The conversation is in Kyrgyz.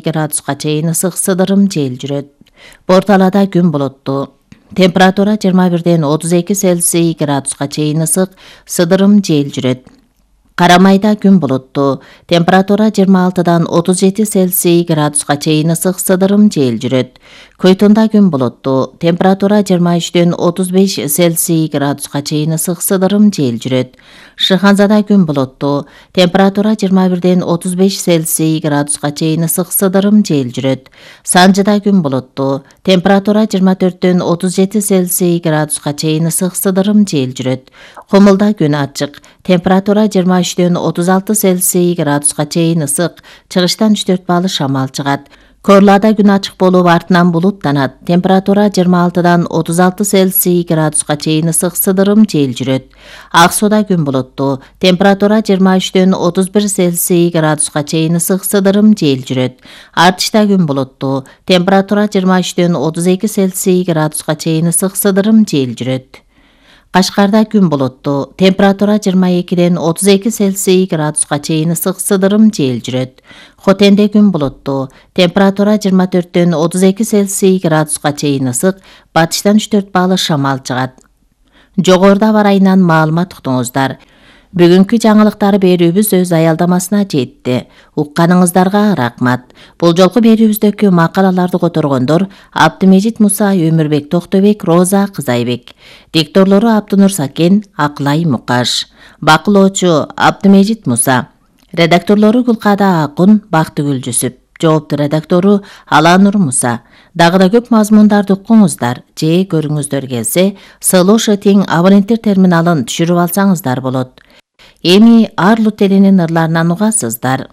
градуска чейин ысык сыдырым жел жүрөт. Борталада күн булуттуу. Температура 21-ден 32 Цельсий градуска чейин ысык сыдырым жел жүрөт. Карамайда күн булуттуу. Температура 26-дан 37 Цельсий градуска чейин ысык сыдырым жел жүрөт. Көйтүндө күн булуттуу. Температура 23-ден 35 Цельсий градуска чейин ысык сыдырым жел жүрөт. Шыханзада күн булуттуу. Температура 21-ден 35 Цельсий градуска чейин ысык сыдырым жел жүрөт. Санжыда күн булуттуу. Температура 24-ден 37 Цельсий градуска чейин ысык сыдырым жел жүрөт. Кумулда күн ачык. Температура 23-ден 36 Цельсий градуска чейин ысык. Чыгыштан 3-4 балл шамал чыгат. Корлада күн ачык болуп артынан булуттанат. Температура 26-дан 36 Цельсий градуска чейин ысык сыдырым жел жүрөт. Ак сууда күн булуттуу. Температура 23-ден 31 Цельсий градуска чейин ысык сыдырым жел жүрөт. Артышта күн булуттуу. Температура 23-ден 32 Цельсий градуска чейин ысык сыдырым жел жүрөт. Кашкарда күн булуттуу. Температура 22-ден 32 Цельсий градуска чейин ысык сыдырым жел жүрөт. Хотенде күн булуттуу. Температура 24-ден 32 Цельсий градуска чейин ысык. Батыштан 3-4 балл шамал чыгат. Жогоруда бар айынан маалымат уктуңуздар. Бүгүнкү жаңылыктар берүүбүз өз аялдамасына жетти. Укканыңыздарга рахмат. Бул жолку берүүбүздөгү макалаларды которгондор Абдымежит Муса, Өмүрбек Токтобек, Роза Кызайбек. Дикторлору Абдынур Сакен, Акылай Мукаш. Бакылоочу Абдымежит Муса. Редакторлору Гулкада Акун, Бактыгүл Жүсүп. Жоопту редактору Аланур Муса. Дагы да көп мазмундарды укуңуздар же көрүңүздөр келсе, Слушай тең абоненттер терминалын түшүрүп алсаңыздар болот. Эми Арлут элинин ырларынан угасыздар.